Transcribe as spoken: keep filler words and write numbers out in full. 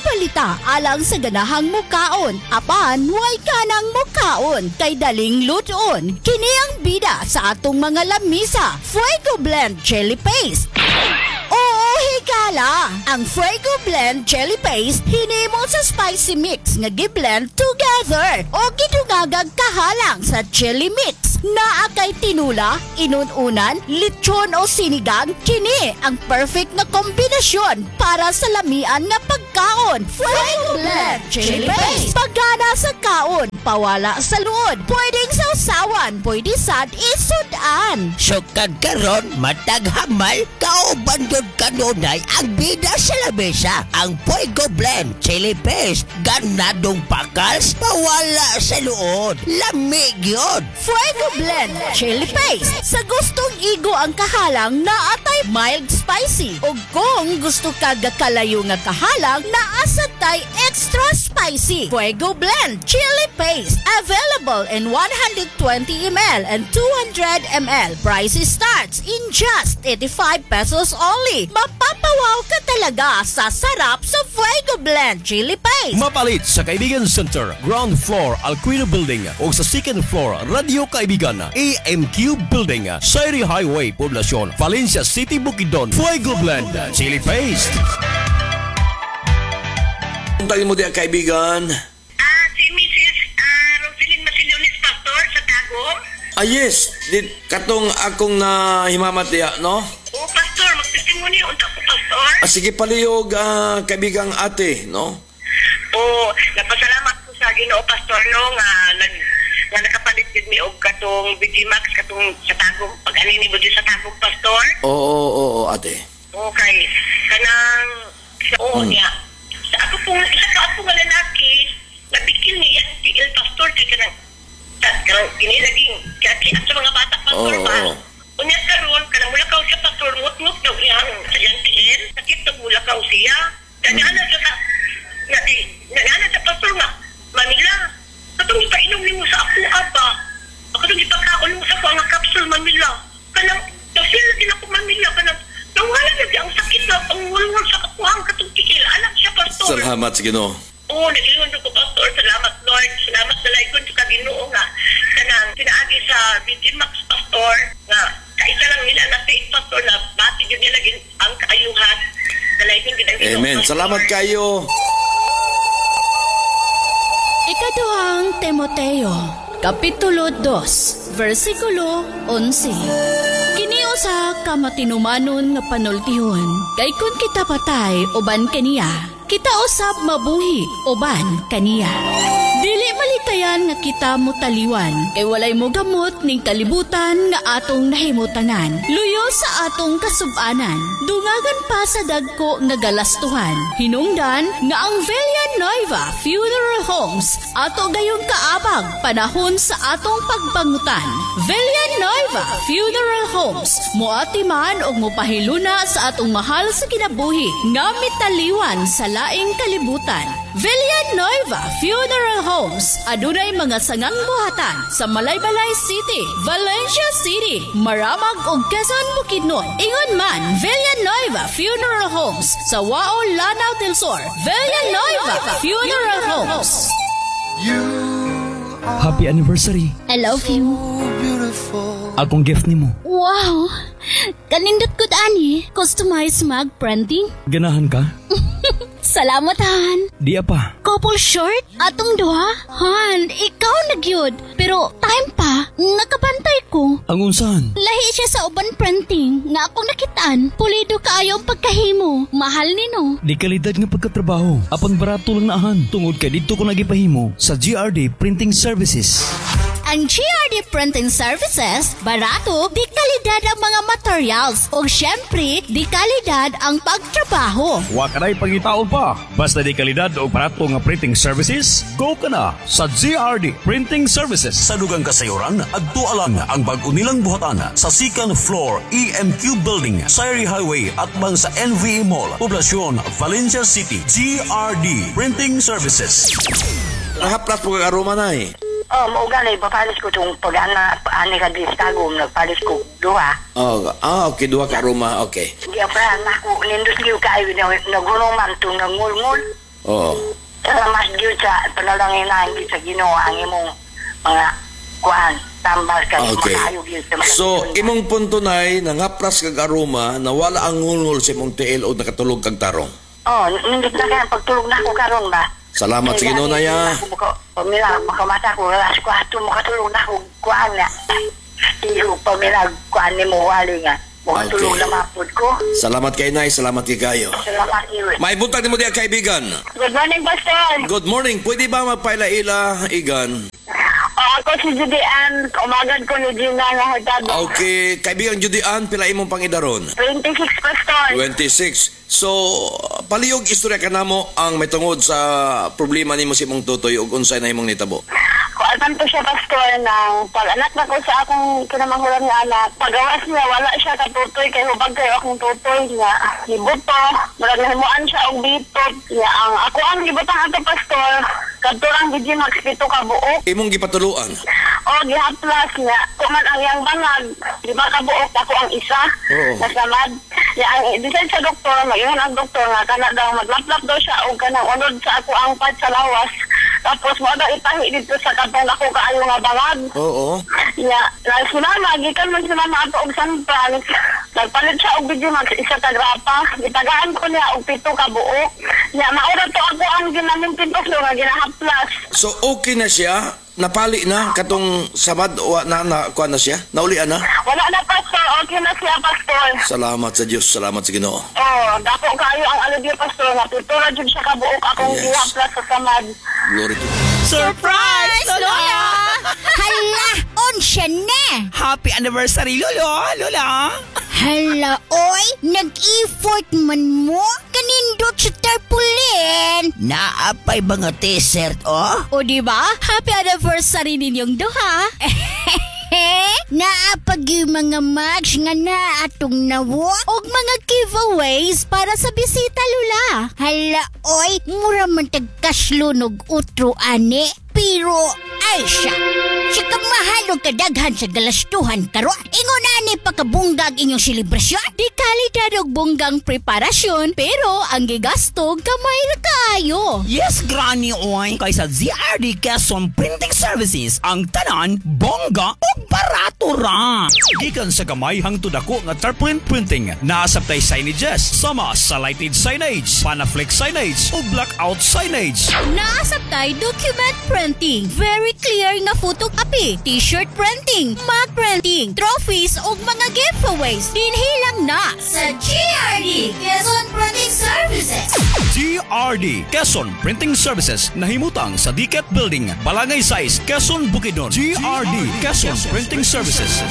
Palita alang sa ganahang mukaon. Apan way kanang mukaon kay daling lutoon. Kini ang bida sa atong mga lamisa. Fuego Blend Chili Paste. Oo, higala! Ang Fuego Blend Chili Paste hinimo sa spicy mix nga gi-blend together o gidungagag kahalang sa chili mix. Naa kay tinula, inununan, lechon o sinigang, kini ang perfect nga kombinasyon para sa lamian nga pagkaon. Fuego Blend Chili Paste. Pagana sa kaon, pawala sa luod. Pwedeng sausawan, pwede sad isudan. Sukad karon matag hamal, kauban jud kanunay ang bida sa lamesa. Ang Fuego Blend Chili Paste, ganadong pakals, pawala sa luod. Lami gyud. Fuego Blend Chili Paste. Sa gustong igo ang kahalang naa tay mild spicy. O kung gusto ka gakalayo nga kahalang naa sad tay extra spicy. Fuego Blend Chili Paste. Available in one hundred twenty milliliters and two hundred milliliters. Price starts in just eighty-five pesos only. Mapapawaw ka talaga sa sarap sa Fuego Blend Chili Paste. Mapalit sa Kaibigan Center, ground floor, Alquino Building o sa second floor, Radio Kaibigan, A M Q Building, Sayri Highway, Poblacion, Valencia City, Bukidnon. Fuego Blend Chili Paste. Tawag mo diya, kaibigan. Ah, si Missus Ah, Roselyn Masilionis, Pastor, sa Tagum. Ah, yes. Di, katong akong na himamat diya, no? Oo, Pastor, magtestimony unta ko, Pastor. Ah, sige, palihog, ah, kaibigang ate, no? Oo, napasalamat ko sa Ginoo, Pastor, no, nga nag nga nakapalit gid mi og katong V G Max katong sa Tagum pag ani ni mo sa Tagum, Pastor. Oo, oo, oo, ate. Okay, kanang sa oo Hmm. niya. Sa ako pong isa ka ako nga lalaki, nabikil ni ang tiil, Pastor, kay kanang sa kanang kini laging kaya sa mga bata, Pastor, Oo, ba. oo. Unya karon kanang mulakaw siya, Pastor, ngut-ngut daw iyang sa iyang tiil, sakit daw mulakaw siya. Kanya ana siya ka nga di nga sa Pastor nga, "Mamila, katong ipainom nimo sa ako aba. Katong ipakaon nimo sa ako ang capsule, Mamila. Kanang na-feel din ako, Mamila, kanang nawala na di ang sakit na ang wulwul sa ako ang katong tiil." Anak siya, Pastor. Salamat sa Ginoo. Oo, nag-ingon ko, Pastor. Salamat, Lord. Salamat sa laygon sa Ginoo nga kanang pinaagi sa V G Max, Pastor, nga kaisa lang nila na faith, Pastor, na bati yun nila gin- ang kaayuhan. Dalaygon gid ang Ginoo, Amen. Pastor. Salamat kayo. Ikaduhang Timoteo, Kapitulo dos, versikulo labing-onse. Kini usa ka matinumanon nga panultihon, kay kun kita patay uban kaniya, kita usab mabuhi uban kaniya. Dili malikayan nga kita mutaliwan, kay walay mo gamot ning kalibutan nga atong nahimutangan. Luyo sa atong kasubanan, dungagan pa sa dagko nga galastuhan. Hinungdan nga ang Villanueva Funeral Homes ato gayong kaabag panahon sa atong pagbangutan. Villanueva Funeral Homes moatiman og mopahiluna sa atong mahal sa kinabuhi nga mitaliwan sa laing kalibutan. Villanueva Funeral Homes adunay mga sangang buhatan sa Malaybalay City, Valencia City, Maramag ug Quezon, Bukidnon. Ingon man Villanueva Funeral Homes sa Wao, Lanao del Sur. Villanueva Funeral Homes. Happy anniversary. I love you. Akong gift nimo. Wow! Kanindot ko ani. Customized mug printing. Ganahan ka? Salamat, Han. Di pa. Couple shirt? Atong duha? Han, ikaw na gyud. Pero time pa, nakabantay ko. Ang unsahan? Lahi siya sa uban printing nga akong nakitaan. Pulido kaayo ang pagkahimo. Mahal nino. Di kalidad nga pagkatrabaho. Apan barato lang naahan. Tungod kay didto ko nagipahimo sa G R D Printing Services. Ang G R D Printing Services, barato, di kalidad ang mga materials o syempre, di kalidad ang pagtrabaho. Wa ka na'y pangitaon pa. Basta di kalidad o barato nga printing services, go ka na sa G R D Printing Services. Sa dugang kasayuran, adto lang ang bag-o nilang buhatan sa second floor E M Q Building, Sayri Highway at bang sa N V A Mall, Poblacion, Valencia City. G R D Printing Services. Nahaplas po kag aroma na eh. Oh, mao gani papalis ko tong pag ana ani ka di sa Tagum nagpalis ko duha. Oh, ah, okay, duha ka aroma, okay. Di pa na ako nindot liw kaayo na nagunong man tong nangulngul. Oo. Salamat gyud sa panalangin gyud sa Ginoo ang imong mga kuan tambal kay Okay. makaayo gyud sa mga So, imong punto nay, nangaplas kag aroma, nawala ang ngulngol sa imong tiil o nakatulog kag tarong. Oh, nindot na kaya pagtulog na ako karon ba. Salamat sa Ginoo na ya. Pamila, makamata ko, alas kwatro, makatulog na ako, kuan na. Iyo, pamila, kuan ni mo, wali nga. Makatulog Okay. na mapud ko. Salamat kay Nay, salamat kay kayo. Salamat iyo. May buntag nimo diya kaibigan. Good morning, Pastor. Good morning. Pwede ba magpaila-ila, Igan? Oh, ako si Judy Ann. Umagad ko ni Gina nga Hurtado. Okay, kaibigan Judy Ann, pila imong pangidaron? twenty-six, Pastor. twenty-six. So, palihog istorya ka namo ang may tungod sa problema nimo sa imong tutoy ug unsay na imong nitabo. Kuan to siya, Pastor, nang pag-anak na ko sa akong kinamahuran nga anak. Pagawas niya, wala siya katutoy, kay hubag kayo akong tutoy niya. Nibuto, murag nahimuan siya og bitot. Niya, ang ako ang gibutang ato, Pastor, kadto ang G Max pito ka buok. Imong gipatuluan. O, gihaplas niya. Kuman ang iyang bangag, di ba kabuok ako ang isa? Oo. Nasamad. Ya, ang decide sa doktor, mag-ingon ang doktor nga kana daw maglaplap daw siya og kanang unod sa ako ang part sa lawas. Tapos mo daw itahi dito sa katong ako kaayo nga bangag. Oo. Ya, na si mama, gikan man si mama ato og San Fran. Nagpalit siya og video mag isa ka grapa. Gitagaan ko niya og pito ka buok. Ya, maura to ako ang ginamintin ko nga ginahaplas. So okay na siya, napali na katong samad wa na na kuan na siya, naulian na. Wala na, Pastor, okay na siya, Pastor. Salamat sa Dios, salamat sa Ginoo. Oh, dako kaayo ang alibyo, Pastor, nga pito ra jud siya ka buok akong Yes. gihaplas sa samad. Glory to Surprise, Lola! Hala, unsa na? Happy anniversary, Lolo! Lola! Hala, oy, nag-effort man mo? Kanindot sa tarpaulin. Naapay mga t-shirt, oh. O di ba? Happy anniversary ninyong duha. Naapag yung mga mugs nga na atong nawo. Og mga giveaways para sa bisita, Lula. Hala, oy, mura man tagkaslunog utro ani. Pero, ay siya. Siya kamahal og kadaghan sa galastuhan karon. Ingon ani pakabunggag inyong selebrasyon. Di kalidad og bonggang preparasyon pero ang gigasto gamay ra kaayo. Yes, Granny Oy! Kay sa G R D Quezon Printing Services, ang tanan, bongga o barato ra! Gikan sa gamay hangtod dako nga tarpaulin printing, naasabtay signages, sama sa lighted signage, panaflex signage, o blackout signage. Naasabtay document printing, very clear nga photocopy, t-shirt printing, mug printing, trophies ug mga giveaways. Dinhi lang na sa G R D Quezon Printing Services. G R D Quezon Printing Services, nahimutang sa Diket Building, Balangay Sais, Quezon, Bukidnon. G R D Quezon Printing Services.